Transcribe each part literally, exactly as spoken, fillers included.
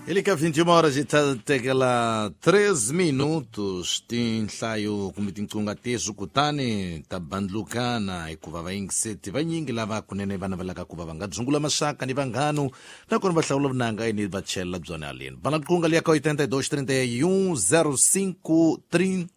Ilika vinte e uma horas e tekela treze minutos tinhlayo kumbe tinqunga tezu kutani ta bandlukana hikuva vayingiseti vanyingi lava kunene vana va laka ku va va nga dzungula maxaka ni vanghanu nakona va hlawula vunanga ni va chela byona aleni bana qunga liya ka oitenta e dois, trinta e um, zero cinco, trinta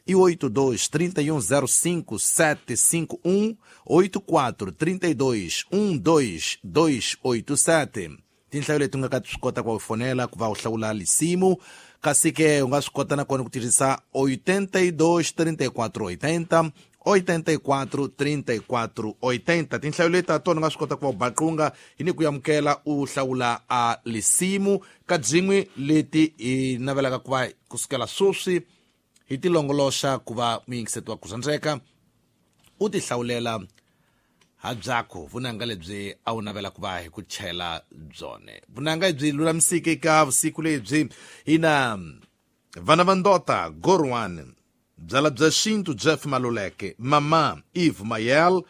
e oito dois, trinta e um, zero cinco, sete cinco um, oito quatro, trinta e dois, um dois, dois oito sete. Tinhlayo leti u nga ka swi kota ku fonela ku va u hlawula lisimu kasi ke u nga swi kota nakona ku tirhisa oitenta e dois, trinta e quatro, oitenta, oitenta e quatro, trinta e quatro, oitenta. Tinhlayo leti ta tona u nga swi kota ku va u baqunga hi ni ku amukela u hlawula a lisimu ka byin'we leti hi navelaka ku va kusukela sweswi hi ti longoloxa ku va muyingiseti wa ku rhandzeka u ti hlawulela habyakho vunanga lebyi a wu navela ku va hi ku chela byone vunanga byi lulamisike ka vusiku lebyi hina vana va ndota gorwan byala bya xintu Jeff Maluleke mama Eve Mayel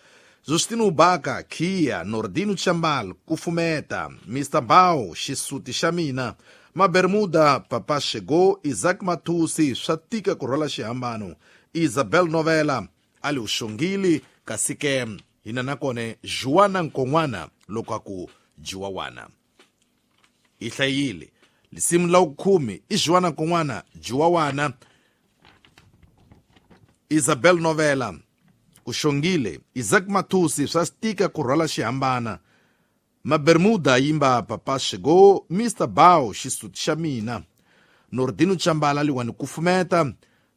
Justino Baka Kia Nordino Chambal Kufumeta Mister Bao Xisuti xa mina Mabermuda Papa Chegou Isaac Matusi swa tika ku rhwala xihambano Isabel Novela Ali Uxongili kasi ke hina nakone Joana Nkonwana loko aku Jiwawana i hlayile lisimu la khume i Joana Nkonwana Jiwawana Isabel Novela Uxongile Isaac Matusi swa tika ku rhwala xihambana Mabermuda yimba Papa Chegou Mister Bao Xisuti xa mina Nordino Chambala liwani Kufumeta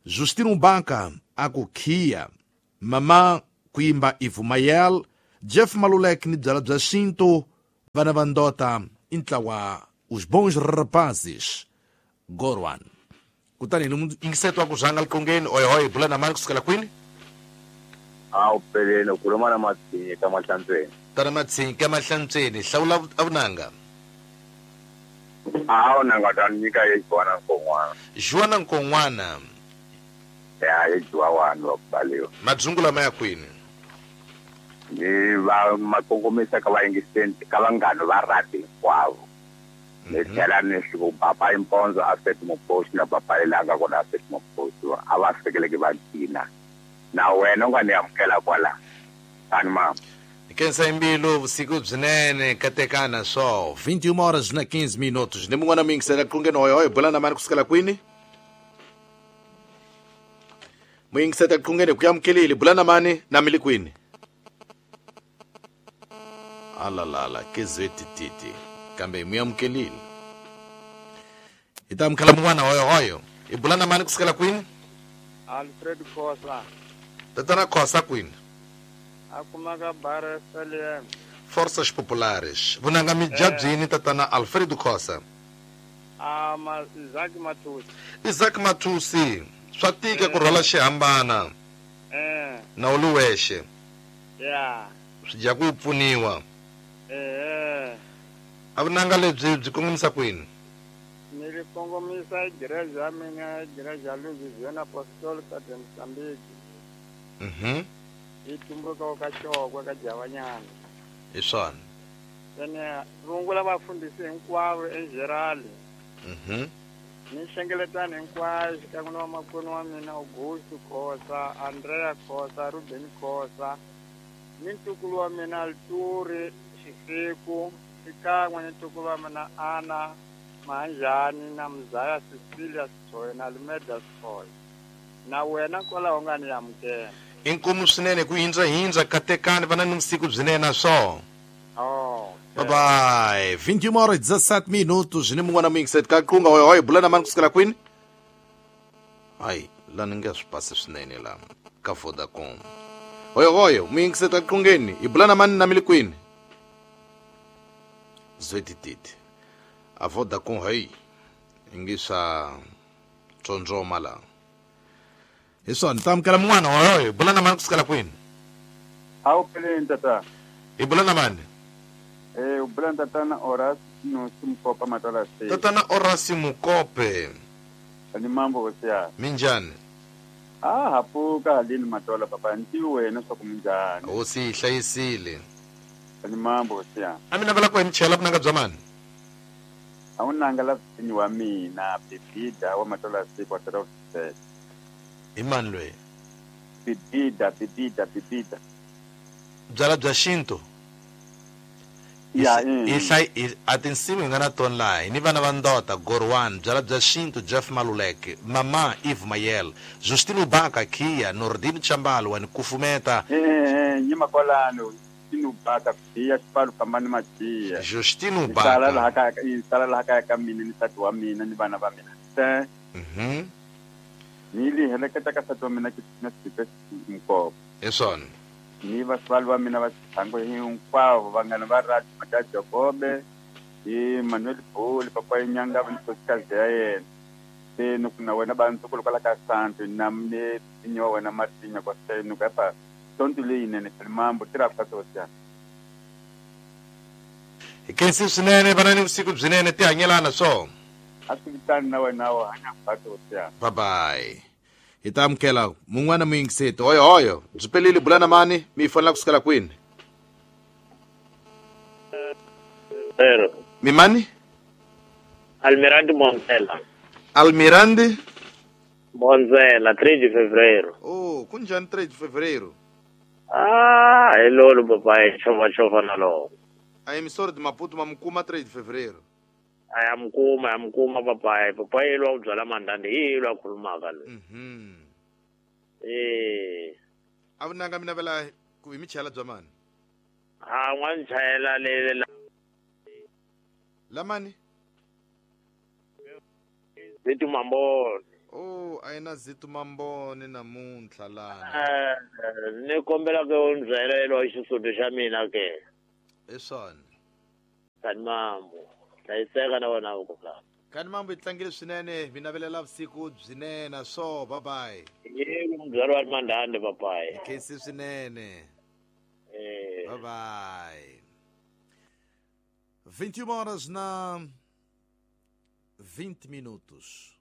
Justino Baka aku Kia Mama kuimba Ivumayel Jeff Malulek ni byala bya xintu vana va ndota i ntlawa Os Bons Rapazes Gorwan kutani ni yingiseto wa ku rhanga liqongeni oyohoy bula na mani kusukela kwini a wu peleni u khuluma na Matsinyi ka Mahlantsweni tana Matsinyi ka Mahlantsweni hlawula avunanga a vunanga ta nyika ye Joana Nkonwana Joana Nkonwana ya ye Jiwawana wa ku baliwa madzungula ma ya kwini ni va makongomisa ka vayingisenti ka vanghana va rati hinkwavo ni tlhela ni swi ku papa Imponzo a feti muposi na papa Ilanga kona a feti muposi a va fikeleki va gcina na wena u nga ni amukela kwala tani mama Kensa imbilu vusiku byinene katekana so vinte e uma horas na quinze minutos ni mun'wana muyingisela qungeni hoyohoyo bula na mani kusukela kwini muyingisela qungeni ku amukelile bula na mani na mili kwini alalala kezeti titi kambe muyamukelile hi ta amukela mun'wana hoyohoyo hi bula na mani kusukela kwini Alfred Khosa tatana Khosa kwini akumaka bar S L M Forças Populares vunanga mijabyini tatana Alfredo Khosa ah ma Isaac Matusi Isaac Matusi swa tika ku rhwala xihambana eh na u li wexe ya swi dya ku pfuniwa eh a vunanga lebyi byi kongomisa kwini ni ri kongomisa igreja ya mina igreja ya Louisiana Apostolic de Mozambique mhm yi tumbuka ka Xokwe ka Javanyana hi swona ene rungula vafundhisi hinkwavo enjerali mhm ni nhlengeletano hinkwayo xikan'we na vamakwenu wa mina Augusto Khosa Andrea Khosa Ruben Khosa ni ntukulu wa mina Alturi Xisiku xikan'we ni ntukulu wa mina Ana Mahanjani na Mzaya Cecilia Sithoye na Lumeda Sithoye na wena kwalaho nga ni amukela inkomu swinene ku hindza hindza katekani vana ni vusiku byinene swo oh bye bye vinte e uma horas e dezessete minutos ni mun'wana muyingiseti ka qunga hoyohoyo bula na mani kusukela kwini hayi la ni nge swi pasi swinene la ka Vodacom hoyohoyo muyingiseti ka qungeni hi bula na mani na mili kwini zwetititi a Vodacom hayi i nge swa tsondzoma la hi swona ta amukela mun'wana hoyohoyo bula na mani kusukela kwini a wu peleni tata hi bula na mani eh u bula tatana Horace Mukope Matola se tatana Horace Mukope ni mambo hosi minjhani ah hapuka halini Matola papa ntivi wena swa ku minjhani hosi yi hlayisile ni mambo hosi a mi navela ku hi mi chela vunanga bya mani A wu nanga la vinyi wa mina Bibida wa matola siku wa tala I mani loyi? Bibida Bibida Bibida. Byala bya xintu. Ya i hlay a tinsimu hi nga na tona laha hi ni vana va ndota Gorwan byala bya xintu Jeff Maluleke Mama Eve Mayel Justino Baka Kia Nordin Chambalo wa ni kufumeta eh nyima kwalano Justino Baka Kia xipalo fambani majiya Justino Baka sala laha ka sala laha ka ka mina ni nsati wa mina ni vana va mina se mhm ni li heleketa ka nsati wa mina ki na siphe mkopo hi swona ni vaswali va mina va xithango hinkwavo vanghana va radio Mata Jakobe hi Manuel Boli papa Inyanga va nkosikazi ya yena se ni ku na wena va ntukulu kwala ka Santo na mne nyo wena Martinya kwa se ni ku pa tonto leyinene mambo tirha ka sosiana hi khensi swinene vana ni vusiku byinene ti hanyelana swo a swi vitani na wena wo hanya ka sosiana bye bye. Hi ta amukela mun'wana muyingiseti hoyo hoyo byi pelile bulana mani mi fonela kusukela kwini Pero mi mani Almirante Bonzela. Almirante Bonzela três de fevereiro. Oh, kunjani três de fevereiro? Ah, hello papai, chova chova nalo. A emissora de Maputo mamukuma três de fevereiro. Ayamkuma ayamkuma papai, papai lo byala mandande hi lo khulumaka lo. Mhm. Eh. Avunanga mina vela ku hi michela bya mani? Ah, n'wana chayela le la Lamani? Zitu Mambone. Oh, ayina Zitu Mambone namuntlha lana. Eh, ni kombela ke u ndzela lo xisudu xa mina ke. Hi swona. Kani mambo. Hlayiseka na wena ku la. Kani mambo yi tlangile swinene, mi navelela vusiku byinene so bye bye. Yebo mbyalo wa mandande papai. Khensi swinene. Eh. Bye bye. vinte e uma horas na vinte minutos.